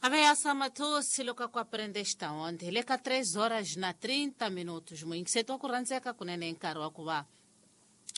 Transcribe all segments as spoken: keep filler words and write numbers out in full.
Ameaça matou-se loko ku aprende esta onde le ka três horas na trinta minutos muyingiseti wa ku rhandzeka kunene nkarhi wa ku va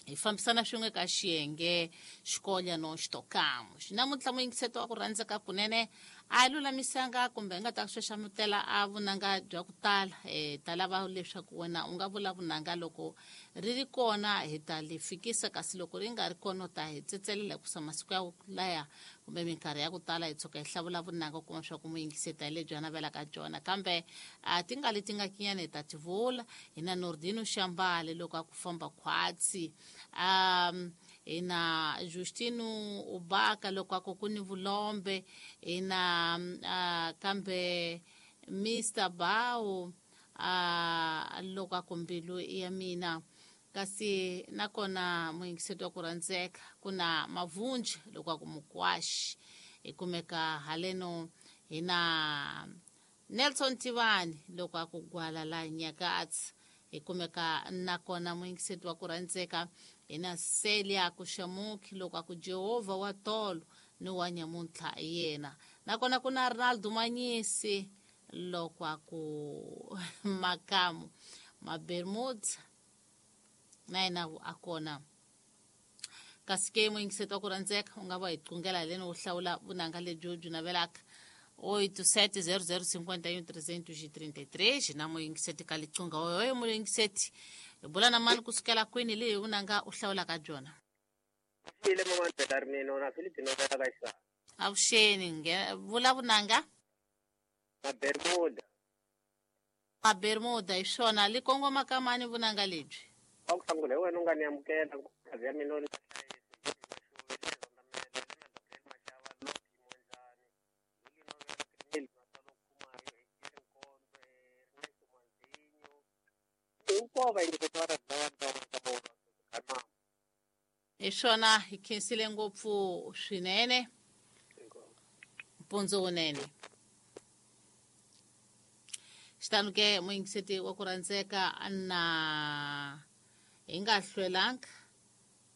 hi fambisana swin'we ka xiyenge xikolya no xitokamo namuntlha muyingiseti wa ku rhandzeka kunene a lulamisanga kumbe nga ta xaxamutela a vunanga bya ku tala um ta lava leswaku wena u nga vula vunanga loko ri ri kona hi ta li fikisa kasi loko ri nga ri kona u ta hi tsetselela hikusa masiku ya laya kumbe minkarhi ya ku tala hi tshuka hi hlavula vunanga u kuma swa ku muyingiseti hi lebyi a navelaka byona kambe a ti nga leti nga kinyana hi ta ti vula hi na Nordino Xambale loko a ku famba khwatsi um hi na Justino Ubaka loko a ku ku ni vulombe hi na uh, kambe Mister Bao uh, loko a ku mbilu ya mina kasi nakona muyingiseti wa ku rhandzeka ku na Mavunji loko a ku mukwaxi hi kumeka haleno hi na Nelson Tivani loko a ku gwala la Nyakatsi hi kumeka nakona muyingiseti wa ku rhandzeka hi na Celia Kushamuki loko a ku Jehovha wa tolo ni wa nyamuntlha yena nakona ku na Ronaldo Manyisi loko a ku makamu Mabermuda na yena a kona kasi ke muyingiseti wa ku rhandzeka u nga va hi qungela leni u hlawula vunanga lebyi byi navelaka oito sete zero zero cinquenta e um trezentos e trinta e três na muyingiseti ka liqunga oyo muyingiseti hi bula na mani kusukela kwini leyi vunanga u hlawulaka byona. Ile mama Belarmino na Filipino ka ka avuxeni nge vula vunanga Mabermuda Mabermuda hi swona li kongoma ka mani vunanga lebyi wa ku sungula hi wena u nga ni amukela kazi ya mina hi swona hi khensile ngopfu swinene mpundzu wunene xitanu ke muyingiseti wa ku rhandzeka na hi nga hlwelanga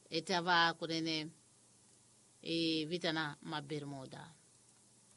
hi ta va kunene hi vitana Mabermuda.